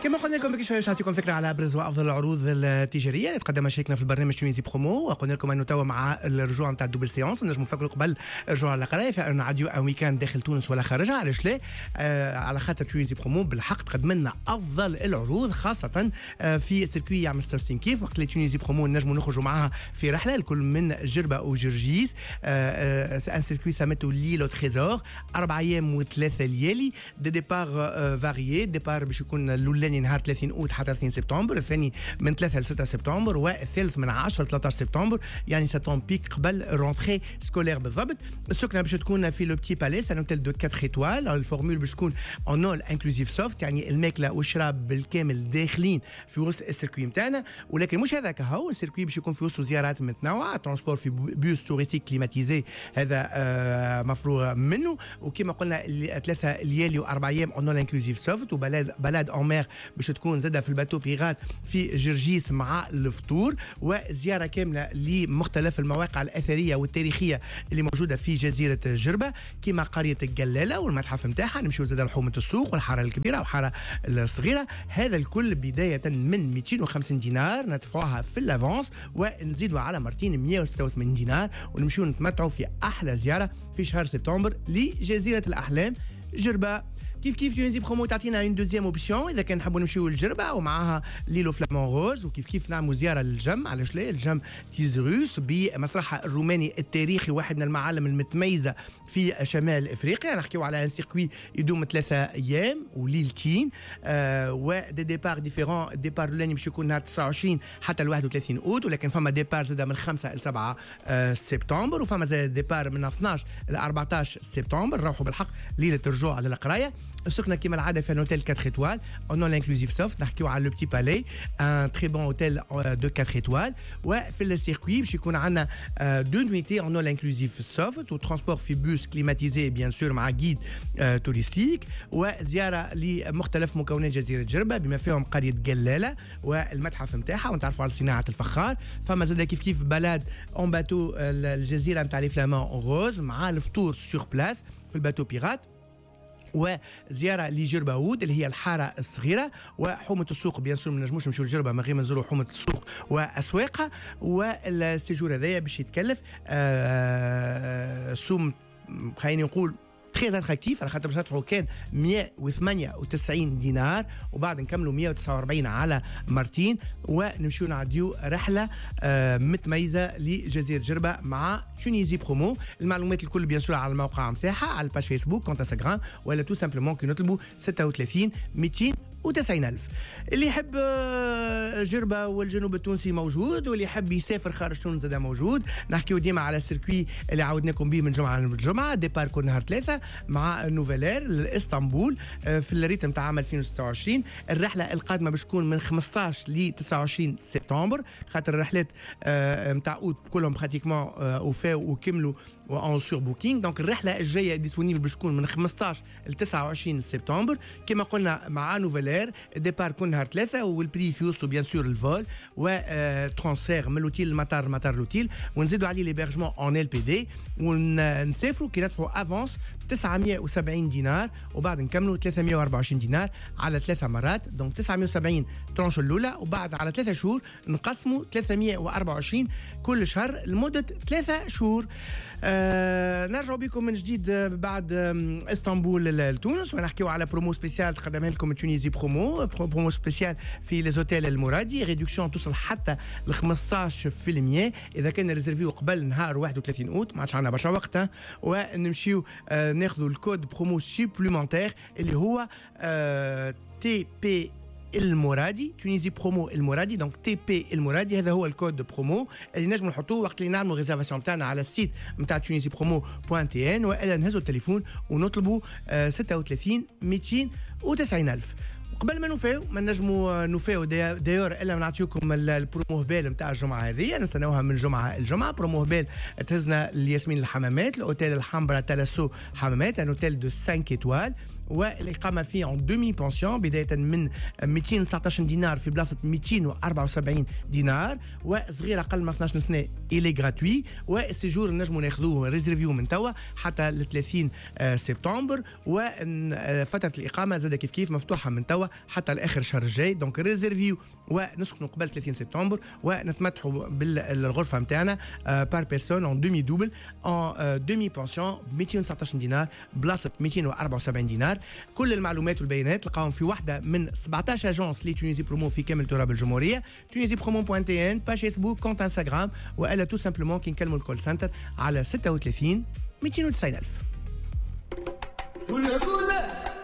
كما قلنا لكم بكري شوية باش نعطيكم فكرة على ابرز وافضل العروض التجارية اللي تقدمها شريكنا في البرنامج Tunisie Promo. وقلنا لكم انه توا مع الرجوع نتاع ال double séance نجموا نفكروا قبل الرجوع على القراية في انه نعديو un week-end داخل تونس ولا خارجها. علاش لا؟ على خاطر Tunisie Promo بالحق تقدم لنا افضل العروض، خاصة في circuit يعمل 66 كيف. وقت اللي Tunisie Promo نجموا نخرجوا معاها في رحله الكل من جربه وجرجيس، un circuit سميته l'île aux trésors، 4 ايام و3 ليالي، des départs variés. départ باش يكون الاولاني نهار 30 اوت حتى 30 سبتمبر، الثاني من 3 ل 6 سبتمبر، والثالث من 10 ل 13 سبتمبر، يعني ça tombe pic قبل rentrée scolaire بالضبط. السكنة باش تكون في Le Petit Palais، un hôtel de 4 étoiles. ال formule باش تكون en all inclusive soft، يعني الماكلة والشراب بالكامل داخلين في وسط ال circuit نتاعنا. ولكن مش هذاك هو، ال circuit باش يكون في وسط زيارات متنوعه، transport في bus touristique climatisé، هذا مفروغ منه. وكما قلنا 3 ليالي و4 ايام en all inclusive soft، و balade balade en mer باش تكون زاده في ال bateau pirate في جرجيس مع الفطور، وزيارة كاملة لمختلف المواقع الاثرية والتاريخية اللي موجودة في جزيرة جربه، كما قرية الجلاله والمتحف نتاعها. نمشيو زاده لحومه السوق والحاره الكبيرة والحاره الصغيره. هذا الكل بداية من 250 دينار ندفعوها في l'avance، ونزيدوا على مرتين 186 دينار، ونمشيو نتمتعوا في احلى زيارة في شهر سبتمبر لجزيرة الاحلام جربه. كيف كيف Tunisie Promo تعطينا une deuxième option اذا كان نحبوا نمشيو للجربه ومعاها l'île aux flamants roses، وكيف كيف نعملوا زيارة للجم، علاش لا، الجم تيزروس بمسرحها الروماني التاريخي، واحد من المعالم المتميزة في شمال افريقيا. نحكيو على un circuit يدوم 3 ايام وليلتين و des départs différents. départ الاولاني باش يكون نهار 29 حتى ال 31 اوت، ولكن فما départ زاد من 5 ل 7 سبتمبر، وفما زاد départ من 12 ل 14 سبتمبر. نروحوا بالحق ليلة الرجوع للقرايه. السكنة كما العادة في hôtel 4 étoiles en all inclusive soft. نحكيو على Le Petit Palais، un très bon hôtel de 4 étoiles. وفي ال circuit باش يكون عندنا deux nuitées en all inclusive soft، و transport في bus climatisé bien sûr مع guide touristique، وزيارة لمختلف مكونات جزيرة جربه بما فيهم قرية جلاله والمتحف نتاعها، ونتعرفوا على صناعة الفخار. فما زاد كيف كيف balade en bateau الجزيرة نتاع les flamants roses مع الفطور sur place في ال bateau pirate، وزيارة لجرباود اللي هي الحارة الصغيرة وحومه السوق. bien sûr ما نجموش نمشيو لجربه من غير ما نزوروا حومه السوق واسواقها. وال séjour هذايا باش يتكلف سوم خليني نقول très attractif، على خاطر باش ندفعوا كان 198 دينار، وبعد نكملوا 149 على مرتين، ونمشيو نعديو رحله متميزة لجزيرة جربه مع Tunisie Promo. المعلومات الكل bien sûr على الموقع نتاعها، على ال page Facebook، compte Instagram، ولا tout simplement كي نطلبوا 36 290 ألف. اللي يحب جربة والجنوب التونسي موجود، واللي يحب يسافر خارج تونس زاد موجود. نحكيو ديما على ال circuit اللي عودناكم به من جمعة لجمعة، départ كل نهار ثلاثة مع Nouvelair لاسطنبول في ال rythme تاع عام 2026. الرحلة القادمة باش تكون من 15 ل 29 سبتمبر، خاطر الرحلات نتاع اوت كلهم pratiquement وفاو وكملوا en surbooking. donc الرحلة الجاية disponible باش تكون من 15 ل 29 سبتمبر كما قلنا مع Nouvelair، départ كل نهار ثلاثه، وال prix في وسطو bien sûr ال vol و transfert من l'hôtel المطار، مطار l'hôtel، ونزيدوا عليه l'hébergement en LPD، ونسافروا كي ندفعوا avance 970 دينار، وبعد نكملوا 324 دينار على ثلاثة مرات. donc 970 tranche الاولى، وبعد على 3 شهور نقسموا 324 كل شهر لمدة 3 شهور. نرجع بكم من جديد بعد اسطنبول لتونس، ونحكيو على promo spéciale تقدمها لكم Tunisie Promo، promo spéciale في les hôtels المرادي، réduction توصل حتى ل 15% اذا كان réserv يو قبل نهار 31 اوت. ما عادش عندنا برشا وقت، ونمشيو ناخذوا ال code promo supplémentaire اللي هو TP المرادي، Tunisie Promo المرادي. donc TP المرادي، هذا هو ال code promo اللي نجموا نحطوه وقت اللي نعملوا réservation تاعنا على ال site نتاع tunisipromo.tn، والا نهزوا التليفون ونطلبوا 36 290 الف. قبل ما نوفاو، ما نجموا نوفاو d'ailleurs الا ما نعطيكم البرومو هبال نتاع الجمعة هذه، نستناوها من جمعه الجمعه. برومو هبال تهزنا لياسمين الحمامات، الاوتيل الحمراء Thalasso حمامات، un hôtel de 5 étoiles. والاقامة فيه en demi-pension بداية من 219 دينار في بلاصة 274 دينار، وصغير اقل من 12 سنة il est gratuit. وال séjour نجموا ناخذوه réserver من توا حتى ل 30 سبتمبر، وفترة الاقامة زاد كيف كيف مفتوحة من توا حتى لاخر الشهر الجاي. donc réserver ونسكنوا قبل 30 سبتمبر ونتمتعوا بالغرفة نتاعنا par personne en demi double en demi-pension 219 دينار بلاصة 274 دينار. كل المعلومات والبيانات تلقاهم في واحدة من 17 agences ل Tunisie Promo في كامل تراب الجمهوريه، tunisipromo.tn، page Facebook، compte Instagram، والا tout simplement كي نكلموا ال call center على 36 290 الف.